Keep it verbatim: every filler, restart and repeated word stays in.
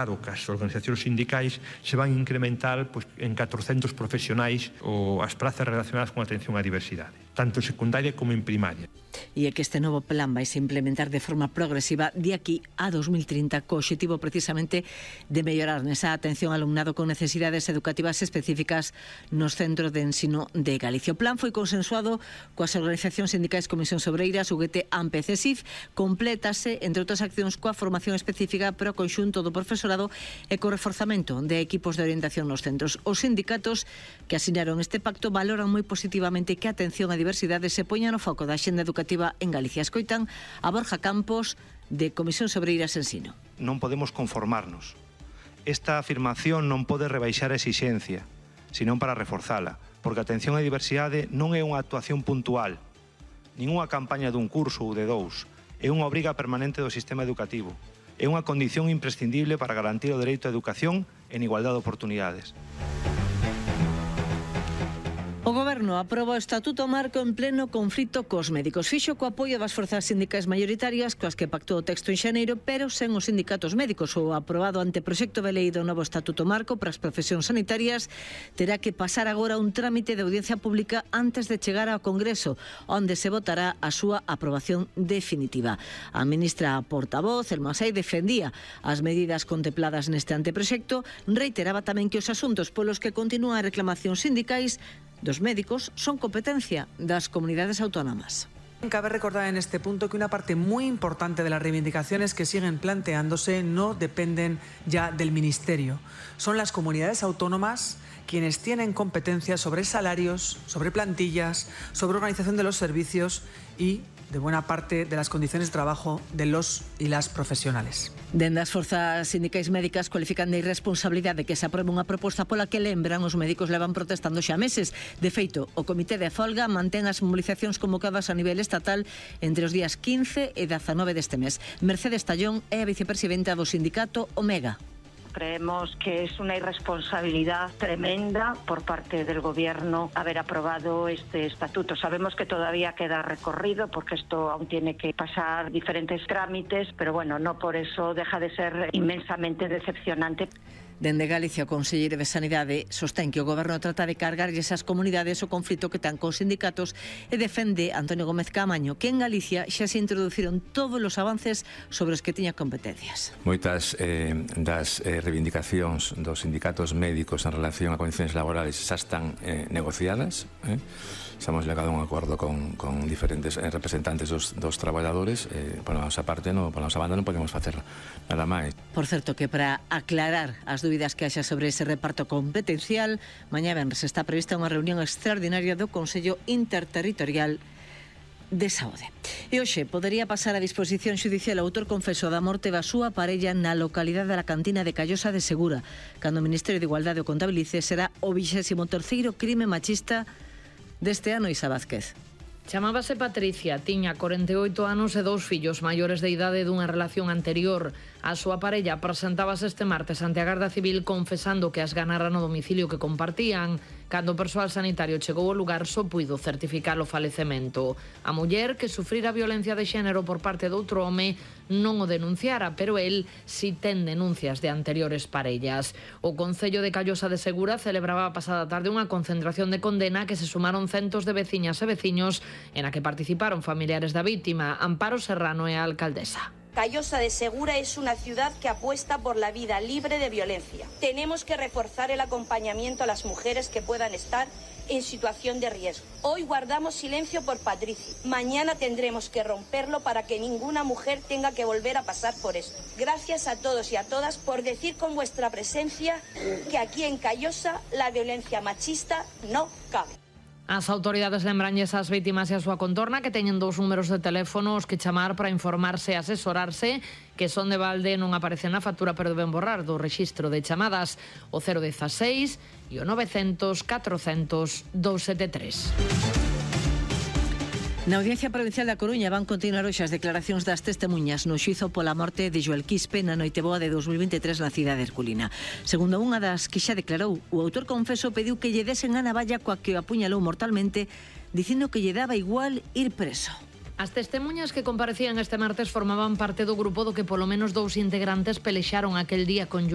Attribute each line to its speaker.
Speaker 1: Claro que as organizacións sindicais se van a incrementar pois, en catrocentos profesionais ou as prazas relacionadas con atención á diversidade, tanto en secundaria como en primaria.
Speaker 2: E é que este novo plan vai se implementar de forma progresiva de aquí a dos mil trinta, co obxectivo precisamente de mellorar nesa atención ao alumnado con necesidades educativas específicas nos centros de ensino de Galicia. O plan foi consensuado coas organizacións sindicais Comisión Obreiras, U G T, A M P e C E S I F, complétase, entre outras accións, coa formación específica para o conxunto do profesorado e co reforzamento de equipos de orientación nos centros. Os sindicatos que asinaron este pacto valoran moi positivamente que a atención á diversidade se poña no foco da axenda educativa en Galicia. Escoitan a Borja Campos, de Comisión Obreiras Ensino.
Speaker 3: Non podemos conformarnos. Esta afirmación non pode rebaixar a exixencia, senón para reforzala, porque a atención á diversidade non é unha actuación puntual, nin unha campaña dun curso ou de dous, é unha obriga permanente do sistema educativo. É unha condición imprescindible para garantir o dereito á educación en igualdade de oportunidades.
Speaker 2: O Goberno aproba o Estatuto Marco en pleno conflito cos médicos. Fixo co apoio das forzas sindicais maioritarias coas que pactou o texto en xaneiro, pero sen os sindicatos médicos. O aprobado anteproxecto de lei do novo Estatuto Marco para as profesións sanitarias terá que pasar agora un trámite de audiencia pública antes de chegar ao Congreso, onde se votará a súa aprobación definitiva. A ministra portavoz, Elma Sai, defendía as medidas contempladas neste anteproxecto, reiteraba tamén que os asuntos polos que continúan reclamacións sindicais dos médicos son competencia das comunidades autónomas.
Speaker 4: Cabe recordar en este punto que una parte muy importante de las reivindicaciones que siguen planteándose no dependen ya del Ministerio. Son las comunidades autónomas quienes tienen competencias sobre salarios, sobre plantillas, sobre organización de los servicios y de buena parte de las condiciones de trabajo de los y las profesionales.
Speaker 2: Dende as forzas sindicais médicas cualifican de irresponsabilidade que se aprobe unha proposta pola que, lembran, os médicos levan protestando xa meses. De feito, o Comité de Folga mantén as movilizacións convocadas a nivel estatal entre os días quince e dezanove deste mes. Mercedes Tallón é a vicepresidenta do sindicato Omega.
Speaker 5: Creemos que es una irresponsabilidad tremenda por parte del Gobierno haber aprobado este estatuto. Sabemos que todavía queda recorrido porque esto aún tiene que pasar diferentes trámites, pero bueno, no por eso deja de ser inmensamente decepcionante.
Speaker 2: Dende Galicia, o conselleiro de Sanidade sostén que o Goberno trata de cargarlles ás comunidades o conflito que ten cos sindicatos e defende Antonio Gómez Caamaño que en Galicia xa se introduciron todos os avances sobre os que tiña competencias.
Speaker 6: Moitas eh, das eh, reivindicacións dos sindicatos médicos en relación a condicións laborales xa están eh, negociadas. Eh? Xa hemos llegado a un acordo con, con diferentes eh, representantes dos, dos traballadores. Eh, por a nosa parte, no, por a nosa banda, non podemos facer nada máis.
Speaker 2: Por certo, que para aclarar as dúbidas que haxa sobre ese reparto competencial, mañá venres está prevista unha reunión extraordinaria do Consello Interterritorial de Saúde. E hoxe podería pasar a disposición xudicial o autor confeso da morte da súa parella na localidade da Cantina de Callosa de Segura. Cando o Ministerio de Igualdade o contabilice, será o vixésimo terceiro crime machista deste ano. Isa Vázquez.
Speaker 7: Chamábase Patricia, tiña corenta e oito anos e dous fillos maiores de idade dunha relación anterior. A súa parella presentábase este martes ante a Garda Civil confesando que as ganara no domicilio que compartían. Cando o persoal sanitario chegou ao lugar, só puido certificar o falecemento. A muller, que sufrira violencia de xénero por parte de outro home, non o denunciara, pero el si ten denuncias de anteriores parellas. O Concello de Callosa de Segura celebraba a pasada tarde unha concentración de condena que se sumaron centos de veciñas e veciños en a que participaron familiares da vítima. Amparo Serrano é a alcaldesa.
Speaker 8: Callosa de Segura es una ciudad que apuesta por la vida libre de violencia. Tenemos que reforzar el acompañamiento a las mujeres que puedan estar en situación de riesgo. Hoy guardamos silencio por Patricia. Mañana tendremos que romperlo para que ninguna mujer tenga que volver a pasar por esto. Gracias a todos y a todas por decir con vuestra presencia que aquí en Callosa la violencia machista no cabe.
Speaker 7: As autoridades lembranlles ás vítimas e a súa contorna que teñen dous números de teléfono os que chamar para informarse e asesorarse, que son de balde, non aparecen na factura, pero deben borrar do rexistro de chamadas, o cero dieciséis e o novecientos catrocentos doscientos setenta e tres.
Speaker 2: Na Audiencia Provincial da Coruña van continuar hoxe as declaracións das testemunhas no xuízo pola morte de Joel Quispe na Noiteboa de dos mil vinte e tres na cidade herculina. Segundo unha das que xa declarou, o autor confeso pediu que lle desen a navalla coa que o apuñalou mortalmente, dicindo que lle daba igual ir preso.
Speaker 7: As testemunhas que comparecían este martes formaban parte do grupo do que polo menos dous integrantes pelexaron aquel día con Joel